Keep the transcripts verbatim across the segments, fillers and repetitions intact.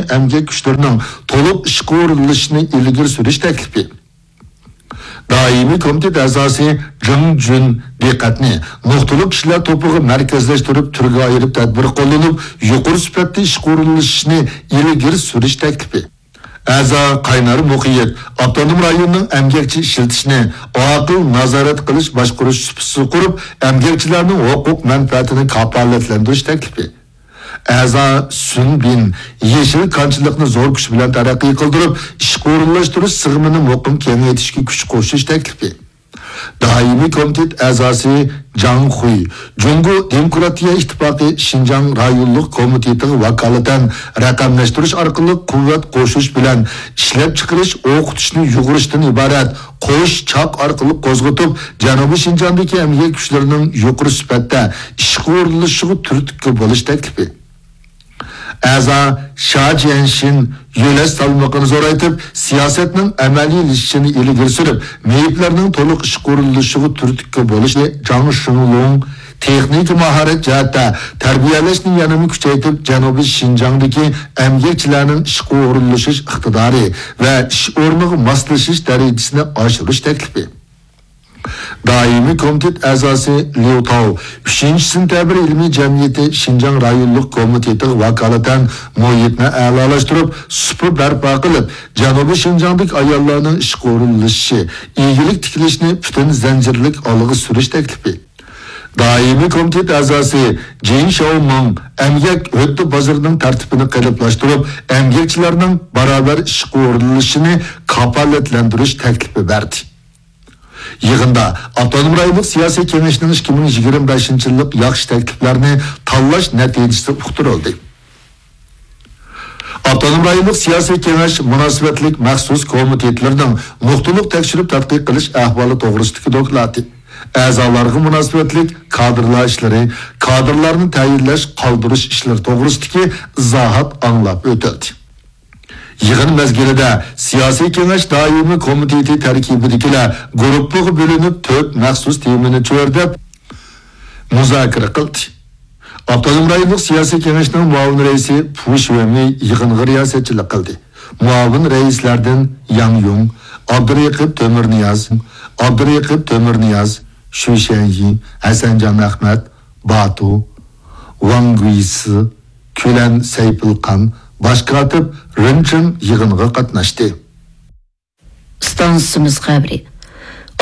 ئەمگەك كۈچلىرىنىڭ تولۇق ئىشقا ئورۇنلىشىشىنى ئىلگىرى سۈرۈش تەكلىپى. دائىمىي كومىتېت ئەزاسى جېڭ جۈن دىققەتنى نۇقتىلىق كىشىلەر توپىغا مەركەزلەشتۈرۈپ، تۈرگە ئايرىپ تەدبىر قوللىنىپ، يۇقىرى سۈپەتتە ئىشقا ئورۇنلىشىشنى ئىلگىرى سۈرۈش تەكلىپى. ئەزا قاينار مۇقىيەت ئاپتونوم رايوننىڭ ئەمگەكچى ئىشلىتىشنى ئاقىل نازارەت قىلىش باشقۇرۇش سۇپىسى قۇرۇپ، ئەمگەكچىلەرنىڭ ھوقۇق مەنپەئەتىنى كاپالەتلەندۈرۈش تەكلىپى. ئەزا سۈن بىن يېشىل كانچىلىقنى زور كۈچ بىلەن تەرەققىي قىلدۇرۇپ، ئىشقا ئورۇنلاشتۇرۇش سىغىمىنى مۇقىم كېڭەيتىشكە كۈچ قوشۇش تەكلىپى. دائىمىي كومىتېت ئەزاسى جاڭ خۇي جۇڭگو دېموكراتىيە ئىتتىپاقى شىنجاڭ رايونلۇق كومىتېتىغا ۋاكالىتەن رەقەملەشتۈرۈش ئارقىلىق قۇۋۋەت قوشۇش بىلەن ئىشلەپچىقىرىش، ئوقۇتۇشنى يۇغۇرۇشتىن ئىبارەت قوش چاق ئارقىلىق قوزغىتىپ، جەنۇبىي شىنجاڭدىكى ئەمگەك كۈچلىرىنىڭ يۇقىرى سۈپەتتە ئىشقا ئورۇنلىشىشىغا تۈرتكە بولۇش تەكلىپى. ئەزا شا جيەنشىن يۆلەش سالمىقىنى زورايتىپ، سىياسەتنىڭ ئەمەلىيلىشىشىنى ئىلگىرى سۈرۈپ، مېيىپلەرنىڭ تولۇق ئىشقا ئورۇنلىشىشىغا تۈرتكە بولۇشنى جاڭ شېڭلۇڭ تېخنىكا ماھارەت جەھەتتە تەربىيەلەشنى يەنىمۇ كۈچەيتىپ، جەنۇبىي شىنجاڭدىكى ئەمگەكچىلەرنىڭ ئىشقا ئورۇنلىشىش ئىقتىدارى ۋە ئىش ئورنىغا ماسلىشىش دەرىجىسىنى ئاشۇرۇش تەكلىپى. دائىمىي كومىتېت ئەزاسى ليۇ تاۋ ئۈچىنچى سېنتەبىر ئىلمىي جەمئىيىتى شىنجاڭ رايونلۇق كومىتېتىغا ۋاكالىتەن مۇھىتنى ئەلالاشتۇرۇپ، سۇپا بەرپا قىلىپ، جەنۇبىي شىنجاڭدىكى ئاياللارنىڭ ئىشقا ئورۇنلىشىشى، ئىگىلىك تىكلەشنى پۈتۈن زەنجىرلىك ئالغا سۈرۈش تەكلىپى. دائىمىي كومىتېت ئەزاسى جېن شياۋمىڭ ئەمگەك ھۆددە بازىرىنىڭ تەرتىپىنى قېلىپلاشتۇرۇپ، ئەمگەكچىلەرنىڭ باراۋەر ئىشقا ئورۇنلىشىشىنى كاپالەتلەندۈرۈش تەكلىپى بەردى. يىغىندا ئاپتونوم رايونلۇق سىياسىي كېڭەشنىڭ ئىككى مىڭ يىگىرمە بەشىنچى يىللىق ياخشى تەكلىپلەرنى تاللاش نەتىجىسى ئۇقتۇرۇلدى. ئاپتونوم رايونلۇق سىياسىي كېڭەش مۇناسىۋەتلىك مەخسۇس كومىتېتلىرىنىڭ نۇقتىلىق تەكشۈرۈپ تەتقىق قىلىش ئەھۋالى توغرىسىدىكى دوكلاتى، ئەزالارغا مۇناسىۋەتلىك كادىرلار ئىشلىرى، كادىرلارنى تەيىنلەش، قالدۇرۇش ئىشلىرى توغرىسىدىكى ئىزاھات ئاڭلاپ ئۆتۈلدى. يىغىن مەزگىلىدە سىياسىي كېڭەش دائىمىي كومىتېتى تەركىبىدىكىلەر گۇرۇپپىغا بۆلۈنۈپ، تۆت مەخسۇس تېمىنى چۆرىدەپ مۇزاكىرە قىلدى. ئاپتونوم رايونلۇق سىياسىي كېڭەشنىڭ مۇئاۋىن رەئىسى پۇ شۈەنمېي يىغىنغا رىياسەتچىلىك قىلدى. مۇئاۋىن رەئىسلەردىن ياڭ يۇڭ، ئابدۇرېقىپ تۆمۈرنىياز، ئابدۇرېقىپ تۆمۈرنىياز، شۈ شەنيى، ھەسەنجان ئەخمەت، باتۇ، ۋاڭ گۇيسى، كۈلەن سەيپۇلخان، باش كاتىپ رېن چېڭ يىغىنغا قاتناشتى. ئىستانسىمىز خەۋىرى.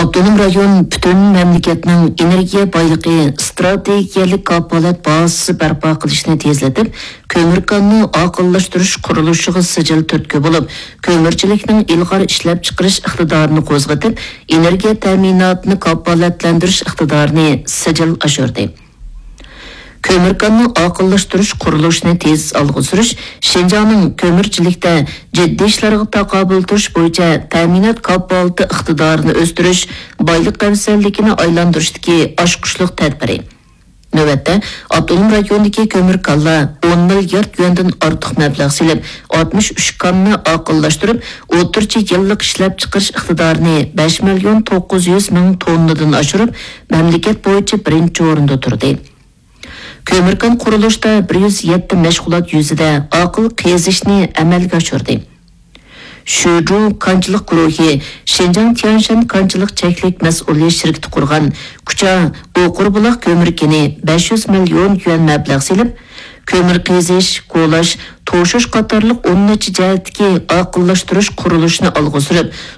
ئاپتونوم رايون پۈتۈن مەملىكەتنىڭ ئېنېرگىيە بايلىقى ئىستراتېگىيەلىك كاپالەت بازىسى بەرپا قىلىشنى تېزلىتىپ، كۆمۈر كاننى ئاقىللاشتۇرۇش قۇرۇلۇشىغا سىجىل تۈرتكە بولۇپ، كۆمۈرچىلىكنىڭ ئىلغار ئىشلەپچىقىرىش ئىقتىدارىنى قوزغىتىپ، ئېنېرگىيە تەمىناتىنى كاپالەتلەندۈرۈش ئىقتىدارىنى سىجىل ئاشۇردى. كۆمۈر كاننى ئاقىللاشتۇرۇش قۇرۇلۇشىنى تېز ئالغا سۈرۈش شىنجاڭنىڭ كۆمۈرچىلىكتە جىددىي ئىشلارغا تاقابىل تۇرۇش بويىچە تەمىنات كاپالىتى ئىقتىدارىنى ئۆستۈرۈش، بايلىق ئەۋزەللىكىنى ئايلاندۇرۇشتىكى ئاچقۇچلۇق تەدبىرى. نۆۋەتتە، ئاپتونوم رايوندىكى كۆمۈر كانلار ئون مىليارد يۈەندىن ئارتۇق مەبلەغ سېلىپ، ئاتمىش ئۈچ كاننى ئاقىللاشتۇرۇپ، ئوتتۇرىچە يىللىق ئىشلەپچىقىرىش ئىقتىدارىنى بەش مىليون توققۇز يۈز مىڭ توننىدىن ئاشۇرۇپ، مەملىكەت بويىچە بىرىنچى ئورۇندا تۇردى. كۆمۈر كان قۇرۇلۇشتا بىر يۈز يەتتە مەشغۇلات يۈزىدە ئاقىل قېزىشنى ئەمەلگە ئاشۇردى. شۈجۇ كانچىلىق گۇرۇھى شىنجاڭ تيەنشەن كانچىلىق چەكلىك مەسئۇلىيەت شىركىتى قۇرغان كۇچا ئوقۇربۇلاق كۆمۈر كېنى بەش يۈز مىليون يۈەن مەبلەغ سېلىپ، كۆمۈر قېزىش، كولاش، توشۇش قاتارلىق ئون نەچچە جەھەتتىكى ئاقىللاشتۇرۇش قۇرۇلۇشىنى ئالغا سۈرۈپ،